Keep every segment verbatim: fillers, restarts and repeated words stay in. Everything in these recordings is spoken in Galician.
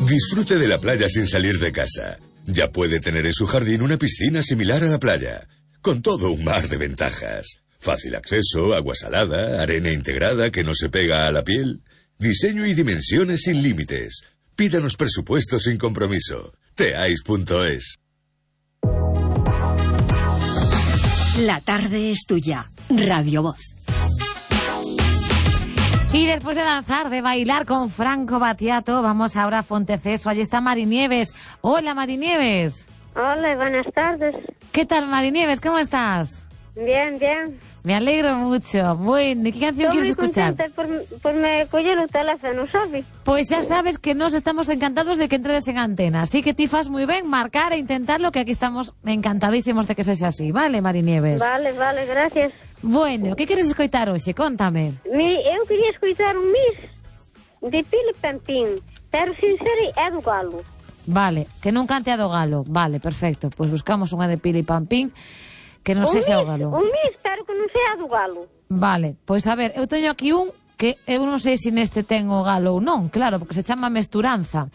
Disfrute de la playa sin salir de casa. Ya puede tener en su jardín una piscina similar a la playa, con todo un mar de ventajas. Fácil acceso, agua salada, arena integrada que no se pega a la piel, diseño y dimensiones sin límites. Pídanos presupuestos sin compromiso. teais punto es. La tarde es tuya. Radio Voz. Y después de danzar, de bailar con Franco Battiato, vamos ahora a Fonteceso. Allí está Mari Nieves. Hola, Mari Nieves. Hola, buenas tardes. ¿Qué tal, Mari Nieves? ¿Cómo estás? Bien, bien. Me alegro mucho. Bueno, ¿qué canción quieres escuchar? Estou moi contenta por, por me coller o teléfono, sabe? Pois xa sabes que nos estamos encantados de que entres en antena. Así que ti fas moi ben marcar e intentarlo, que aquí estamos encantadísimos de que sexa así. Vale, Mari Nieves? Vale, vale, gracias. Bueno, que queres escoitar hoxe? Contame. Mi, eu quería escoitar un Miss de Pili Pampín, pero sin ser é do Galo. Vale, que non cante a do Galo. Vale, perfecto. Pois buscamos unha de Pili Pampín que non sei se é o Galo. Un Miss, pero que non sea do Galo. Vale, pois a ver, eu teño aquí un que eu non sei se neste ten o Galo ou non, claro, porque se chama Mesturanza.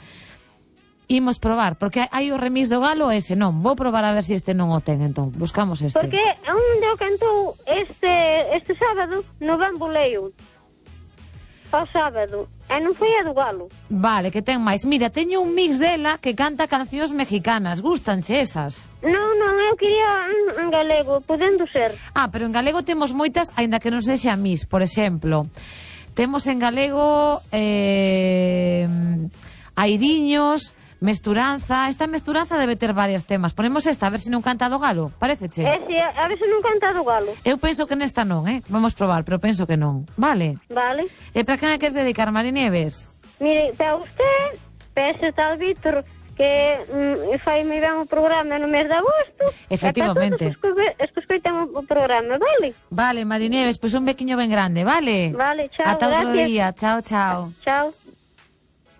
Imos probar, porque hai o remix do Galo e ese non. Vou probar a ver se este non o ten, entón. Buscamos este. Porque onde o cantou este, este sábado no Bamboleo. O sábado. E non foi a do Galo. Vale, que ten máis. Mira, teño un mix dela que canta cancións mexicanas. Gústanche esas? Non, non, eu quería en, en galego, podendo ser. Ah, pero en galego temos moitas, aínda que non sexa mix, por exemplo. Temos en galego eh, Airiños, Mesturanza. Esta Mesturanza debe ter varios temas. Ponemos esta, a ver se non canta do Galo. Paréceche? É, si, a ver se non canta do Galo. Eu penso que nesta non, eh? Vamos probar, pero penso que non. Vale? Vale. E para quen a queres dedicar, Mari Nieves? Mire, para usted, para ese tal Víctor, que mm, fai moi ben o programa no mes de agosto. Efectivamente. E para todos os que escoitan o programa, vale? Vale, Mari Nieves, pois pues un bequiño ben grande, vale? Vale, chao, ata outro gracias. día, chao, chao. Chao.